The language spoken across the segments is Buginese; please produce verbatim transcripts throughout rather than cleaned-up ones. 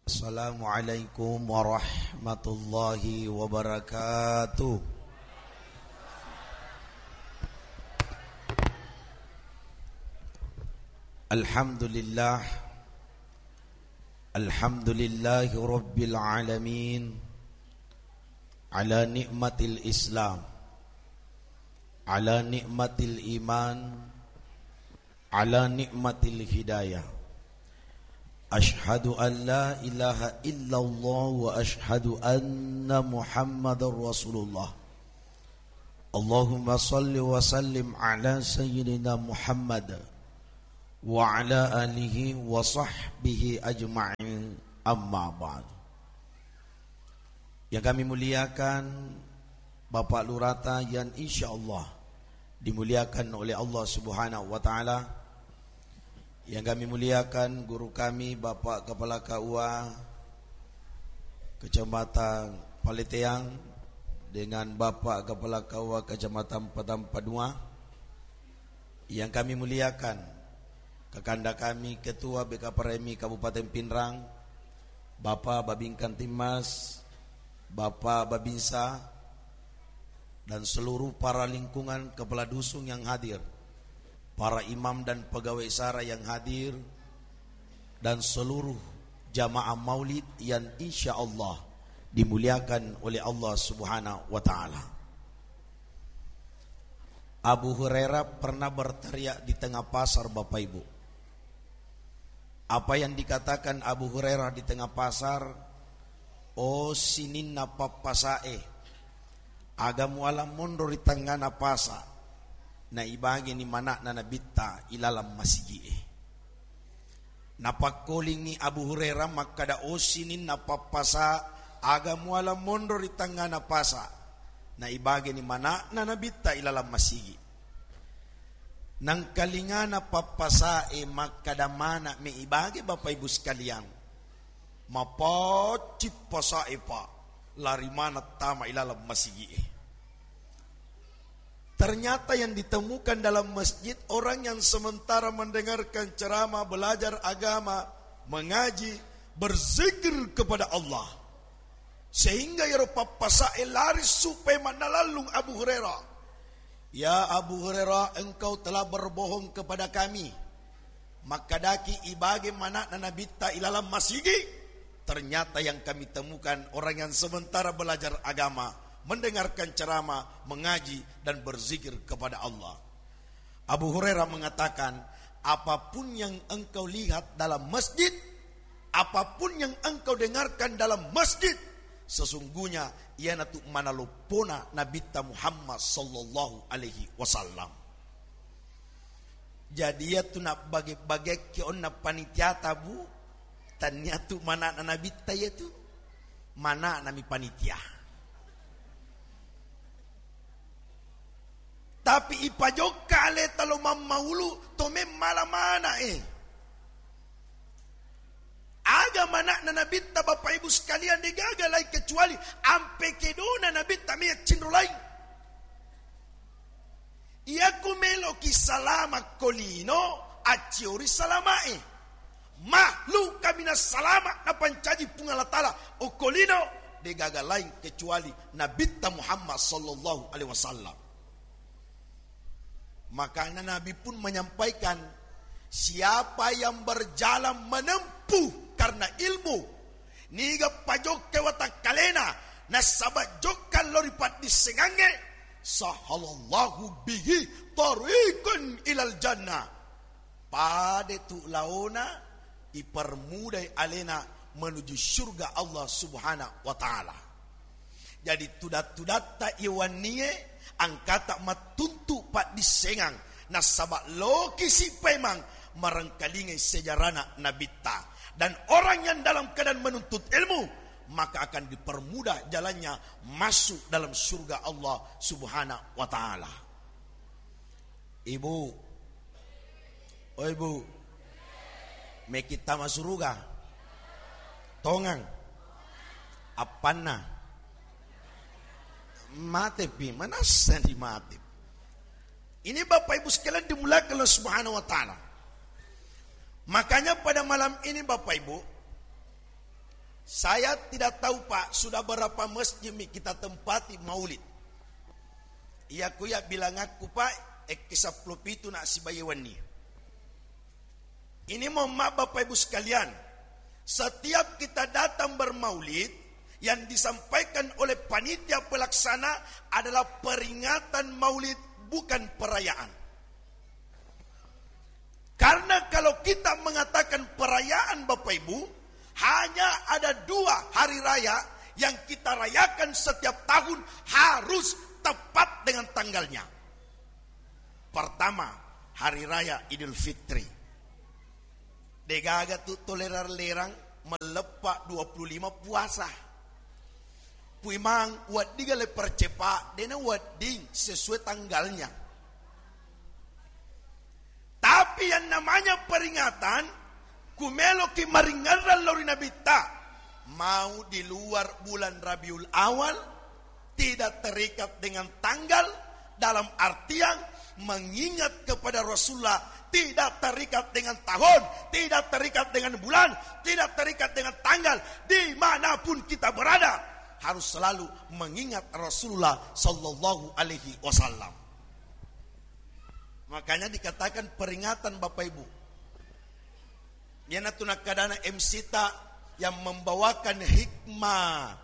Assalamualaikum warahmatullahi wabarakatuh. Alhamdulillah. Alhamdulillahi rabbil alamin. Ala ni'matil Islam. Ala ni'matil iman. Ala ni'matil hidayah. Asyhadu an la ilaha illallah wa asyhadu anna Muhammadar Rasulullah. Allahumma salli wa sallim ala sayyidina Muhammad wa ala alihi wa sahbihi ajma'in, amma ba'd. Yang kami muliakan Bapak Lurata yang insyaallah dimuliakan oleh Allah Subhanahu wa Ta'ala. Yang kami muliakan guru kami, Bapak Kepala K U A Kecamatan Paleteang, dengan Bapak Kepala K U A Kecamatan Padang Padua. Yang kami muliakan, kakanda kami, Ketua B K P R M I Kabupaten Pinrang, Bapak Babin Kamtibmas, Bapak Babinsa, dan seluruh para lingkungan kepala dusun yang hadir, para imam dan pegawai syara yang hadir, dan seluruh jamaah maulid yang insya Allah dimuliakan oleh Allah Subhanahu wa Ta'ala. Abu Hurairah pernah berteriak di tengah pasar, Bapak Ibu. Apa yang dikatakan Abu Hurairah di tengah pasar? "Oh, sininna pappasae, aga muala monro ri tengngana pasa, na ibageni mana'na Nabitta ilalang masigi'e." Napakkolingngi Abu Hurairah makkada, "Oh, sininna pappasa, aga muala monro ri tengngana pasa, na ibageni mana'na Nabitta ilalang masigi." Nangkalingana pappasae makkada mana me ibage, Bapak Ibu sekalian, mapaccing pasae, Pak, lari maneng tama ilalang masigi'e. Ternyata yang ditemukan dalam masjid orang yang sementara mendengarkan ceramah, belajar agama, mengaji, berzikir kepada Allah. Sehingga iyaro pappasae lari supaya mannalallung Abu Hurairah. "Ya Abu Hurairah, engkau telah berbohong kepada kami. Makkadaki ibage mana'na Nabitta ilalang masigi?" Ternyata yang kami temukan orang yang sementara belajar agama, mendengarkan ceramah, mengaji, dan berzikir kepada Allah. Abu Hurairah mengatakan, "Apapun yang engkau lihat dalam masjid, apapun yang engkau dengarkan dalam masjid, sesungguhnya iyanatu manaloppona Nabitta Muhammad sallallahu alaihi wasallam." Jadi, iyatu nabbage-bagekki onna panitiata, Bu, taniatu mana'na Nabitta iyatu, mana'nami panitia. Tapi ipajokka aleta lo mammaulu, to memmala mana'e. Aga mana'na Nabitta, Bapak Ibu sekalian, degaga lain kecuali ampe kedona Nabitta meyaccinro lain. Iyaku meloki salama ko lino, acciori salamae. Makhluk kaminang salama napancaji Puang Allah Ta'ala okko lino, degaga lain kecuali Nabitta Muhammad sallallahu alaihi wasallam. Makanya Nabi pun menyampaikan, siapa yang berjalan menempuh karena ilmu, niga pajokka watakkalena, nasaba jokka lao ri paddissengangnge, sahalallahu bihi tariqan ilal jannah. Pada tu laona, ipermudai alena menuju surga Allah Subhanahu wa Ta'ala. Jadi, tudat-tudatta iwannie angkata mattuntu paddissengang, nasaba lokisi paimang marengkalingai sejarana Nabitta. Dan orang yang dalam keadaan menuntut ilmu, maka akan dipermudah jalannya masuk dalam surga Allah Subhanahu wa Ta'ala. Ibu, oi Bu, meki tama suruga? Tongang. Appanna? Matepi, manassa di mate. Ini Bapak Ibu sekalian dimuliakan Allah Subhanahu wa Ta'ala. Makanya pada malam ini Bapak Ibu, Saya tidak tahu, Pak, sudah berapa masjid mi kita tempati maulid. Iya kuya bilangakku, Pak, ekki seppulo pitu na sibawa wenni. Ini mohon maaf, Bapak Ibu sekalian, setiap kita datang bermaulid, yang disampaikan oleh panitia pelaksana adalah peringatan maulid, bukan perayaan. Karena kalau kita mengatakan perayaan, Bapak Ibu, hanya ada dua hari raya yang kita rayakan setiap tahun, harus tepat dengan tanggalnya. Pertama, hari raya Idul Fitri. Degaga tu tolerang-lerang melleppa dua puluh lima puasa. Puimang, wedding le percepat, dena wedding sesuai tanggalnya. Tapi yang namanya peringatan, kumeloki maringerrang lao ri Nabitta, mau di luar bulan Rabiul Awal, tidak terikat dengan tanggal, dalam artian mengingat kepada Rasulullah, tidak terikat dengan tahun, tidak terikat dengan bulan, tidak terikat dengan tanggal, dimanapun kita berada, harus selalu mengingat Rasulullah sallallahu alaihi wasallam. Makanya dikatakan peringatan, Bapak Ibu. Iyanatu nakkadana M C ta yang membawakan hikmah.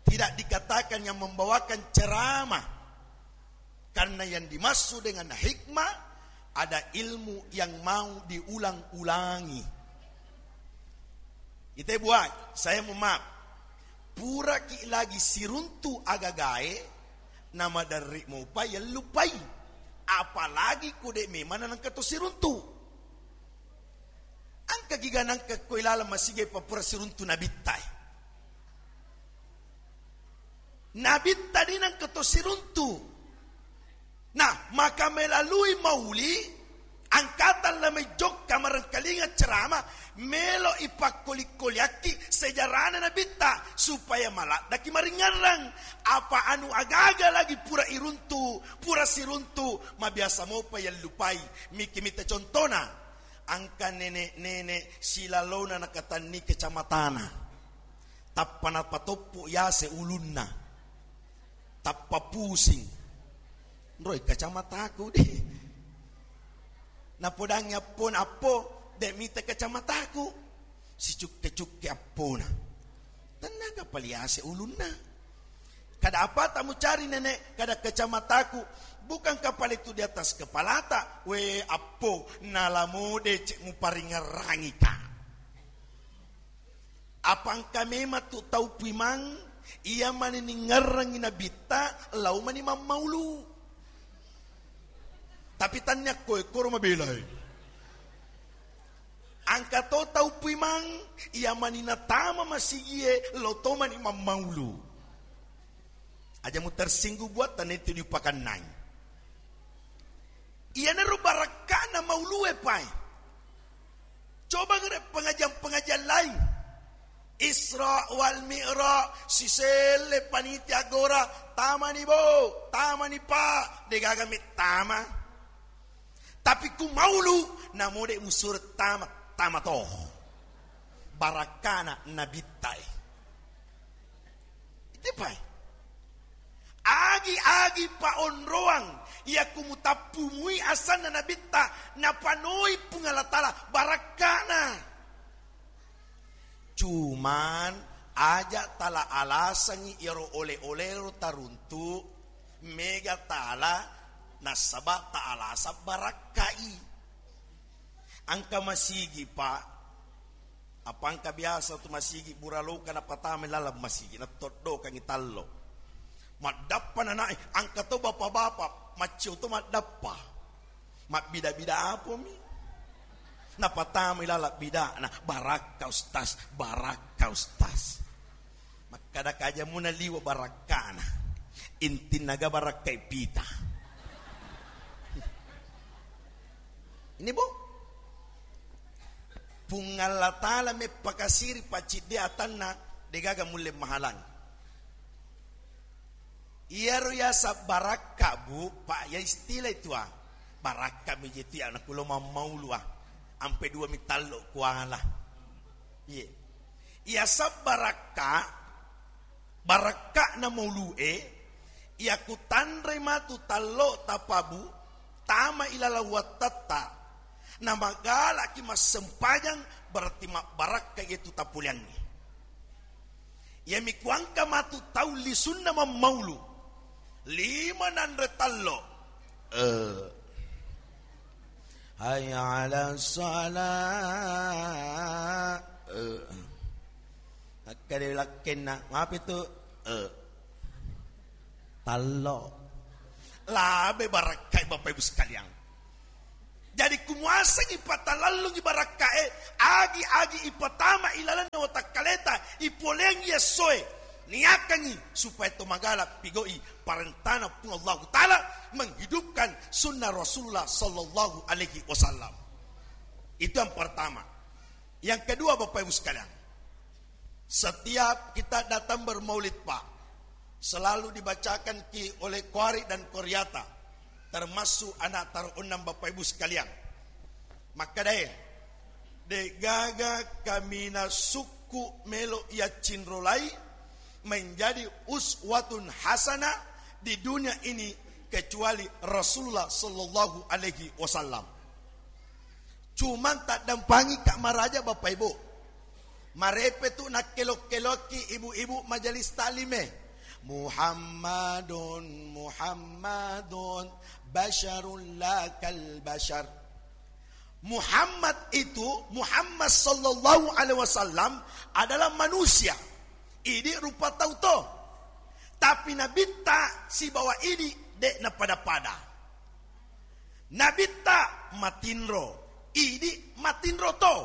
Tidak dikatakan yang membawakan ceramah. Karena yang dimaksud dengan hikmah ada ilmu yang mau diulang-ulangi. Ite buat, saya mohon maaf. Puraki lagi siruntu agagae, namaderri mopa yellupai. Apalagi ko de memang nangka to siruntu. Engka giga nangka ko ilaleng masigi papura siruntu Nabitta e. Nabitta de nangka to siruntu. Nah, maka melalui mauli, angkatang la mai jokka marengkalinga ceramah, melo ipakkoli-koliakki sejarana Nabitta, supaya maladdaki maringerrang. Apa anu agaga lagi pura iruntu, pura siruntu, mabiasa mopa yellupai. Miki mita contona, engka nenek-nenek silalona nakatanni kacamatana. Tappa napatoppo yase ulunna. Tappa pusing. Roi kacamataku de. Napodangi appona, "Appo, de mita kacamataku." Sicukke-cukke appona. Tennaga pale yase ulunna. "Kada apa tamu cari, Nenek?" "Kada kacamataku." "Bukankah pale tu di atas kepalata?" "We, appo, nalamo decek muparingerrangika." Apa engka memang tu tau puimang iya mani ningerrangi Nabitta, lao mani mammaulu. Tapi tannia koe koro mabelai. Engka to tau puimang iya mani natama masigie, lao to mani mammaulu. Aja mu tersinggung buat, tanettu diupakannai. Iyanaro barakkana maulue pae. Coba ngere pengajian-pengajian lain. Isra wal Mi'raj, siselle panitia gora, "Tamani, Bo, tamani, Pak," degaga mettama. Tapi ku maulu, namode musure tama, tama to. Barakkana Nabitta e. Itepai. Agi-agi paonroang, iya ku mutappumui asanna Nabitta, napanoi Puang Allah Taala barakkana. Cuman, aja tala alasangi iyaro ole-olero taruntu, mega tala nasaba ta alasang barakkai. Engka masigi, Pak. Apa engka biasa tu masigi buraloka napatamai laleng masigi, nattoddokangi tallo. Maddappa nanai, engka to bapa-bapa, maccio to maddappa. Mabbida-bida apomi. Napatamai laleng bidana, "Barakka, Ustaz, barakka, Ustaz." Makkada kaja muna liwa barakkana. Intinna ga barakkai pita. Ini, Bu. Puang Allah Taala meppakasiri pacciddi atanna, degaga mulle mahalang. Iyaro yaseng barakka, Bu, Pak, ya istilah itu, ah. Barakka mi je tu ya, nakulo mammaulu, ah. Ampe dua mi tallo kuala. Iye. Iya sabbarakka, barakka'na maulu'e, iya kutanrei matu tallo tapabu, tama ilaleng wattatta, namagalaki massempajang, berarti mabbarakka iyatu tapuliangngi. Iyami kuangka matu tau lisunna mammaulu, lima nanre tallo. Eh. Hayya 'alas shalah. Eh. Akkade lakkenna, mapi tu? Eh. Tallo. Labe barakkai Bapak Ibu sekalian. Jadi kumuasengi patalallungi barakkae, agi-agi ipatama ilalenna watakkaleta, ipoleangi essoe, niakangi supaya to magala pigau'i parentana Puang Allahu Ta'ala, menghidupkan sunnah Rasulullah sallallahu alaihi wasallam. Itu yang pertama. Yang kedua, Bapak Ibu sekalian, setiap kita datang bermaulid, Pak, selalu dibacakan ki oleh qari dan qariata, termasuk anak taruh enam Bapak Ibu sekalian. Makkedae, de'gaga kaminang sukku melo iyaccinrolai menjadi uswatun hasanah di dunia ini kecuali Rasulullah sallallahu alaihi wasallam. Cuman taddampangi ka maraja Bapak Ibu. Marepe tu nakkelok-kelokki ibu-ibu majelis taklime. Muhammadun, Muhammadun, basyarun la kal basyar. Muhammad itu, Muhammad sallallahu alaihi wasallam adalah manusia. Idi rupa tau to. Tapi nabitta sibawa idi de' napada-pada. Nabitta matinro, idi matinro to.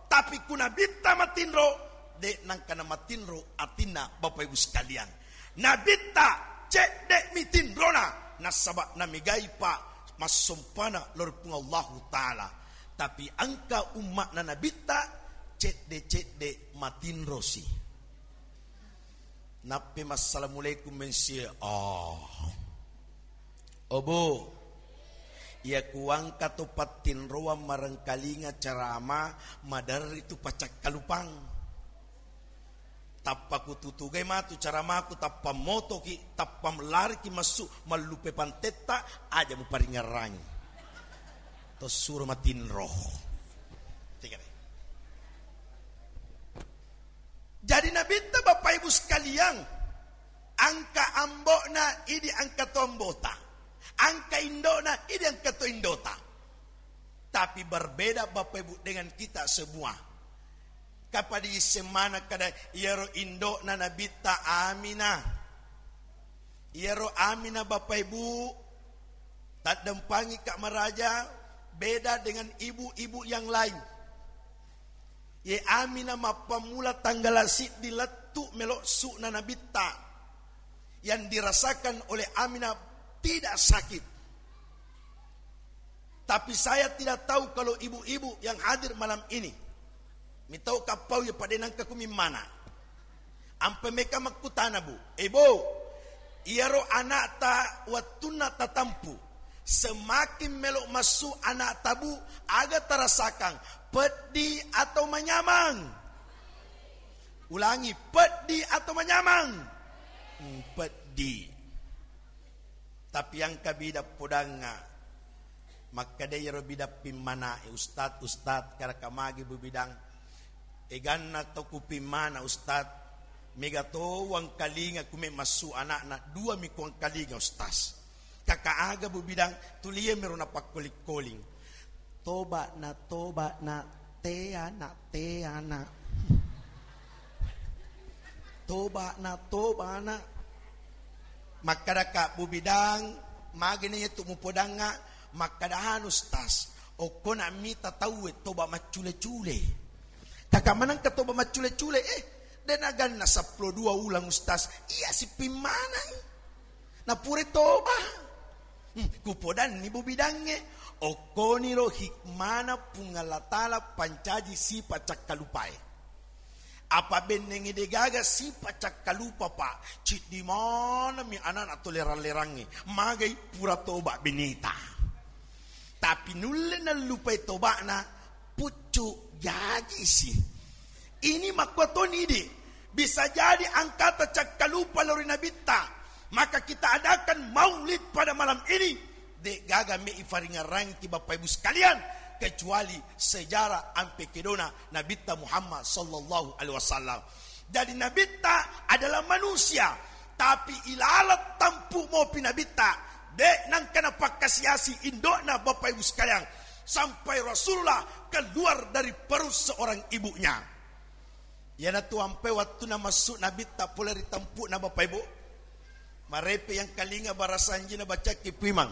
Tapi ku nabitta matinro, de' nangkana matinro atinna Bapak Ibu sekalian. Nabitta cedde' mi tinrona, nasaba' namigai pa massompana lao ri Puang Allahu Ta'ala. Tapi engka umma'na nabitta cedde'-cedde' matinrosi. Nappe massalamualaikum mensie. Oh. Obo. Iya kuangka to pattinroang marengkalinga ceramah, maderri tu pacakkalupang. Tappa kututugai matu ceramahku, tappa motoki, tappa lariki massu mallupe pantetta, aja muparingerrangi. To suro matinro. Tiga deh. Jadi nabitta Bapak Ibu sekalian, angka ambo'na idi angka to ambota, angka indo'na idi angka to indota. Tapi berbeda Bapak Ibu dengan kita semua. Kapada isseng maneng kada iyaro indo'na nabitta Aminah. Iyaro Aminah Bapak Ibu, taddempangi ka maraja, beda dengan ibu-ibu yang lain. Ye Aminah mappammula tanggala siddi lettu melo su'na nabitta yang dirasakan oleh Aminah tidak sakit. Tapi saya tidak tahu kalau ibu-ibu yang hadir malam ini, mitau kappau ya pada nangka kumimmana. Ampe meka makkutana, Bu. Eh, Bu, iyaro anakta wettunna tatampu, semakin melo massu anakta, Bu, aga tarasakang, peddi atau manyamang? Ulangi, peddi atau manyamang? Hmm, peddi. Tapi engka bidang podangnga. Makkeda iyaro bidang pimmanae, "Ustad, Ustad, karaka magi Bu Bidang? Eganna to kupimmana, Ustad. Mega to uangkalinga kume massu anakna, dua mi kuangkalinga, Ustaz." "Kaka aga Bu Bidang?" "Tulie mero napakkoling-koling. Toba na, toba na, te ana, te ana. Toba na, toba na." Makkadaka, "Bu Bidang, magena iya tu mupodangnga?" Makkada, "Anu, Ustaz, okkona mita tauwe toba maccule-cule." "Kaka manengka toba maccule-cule?" "Eh, de naganna seppulo dua ulang, Ustaz. Iya sipimmanai. Napure toba." Hmm, kupodanni Bu Bidangnge, okkoniro hikmana Puang Allah Ta'ala pancaji sipa cakkalupae. Apa bennengnge degaga sipa cakkalupa, Pak. Ciddi manami anana to lerang-lerangnge. Magai pura toba beneta. Tapi nulle nallupai tobana, puccu jajisi. Ini makkuatoni idi, bisa jadi angkata cakkalupa lao ri Nabitta, maka kita adakan maulid pada malam ini, de gaga me ifaringarangki Bapak Ibu sekalian, kecuali sejarah ampe kedona Nabitta Muhammad sallallahu alaihi wasallam. Jadi Nabitta adalah manusia, tapi ilalat tampu mopi Nabitta, de nangka napakkasiasi indokna Bapak Ibu sekalian, sampai Rasulullah keluar dari perut seorang ibunya. Iyanatu ampe wattunna massu Nabitta pole ri tampu'na Bapak Ibu. Marepe yang kalinga barasanjina bacakki puimang.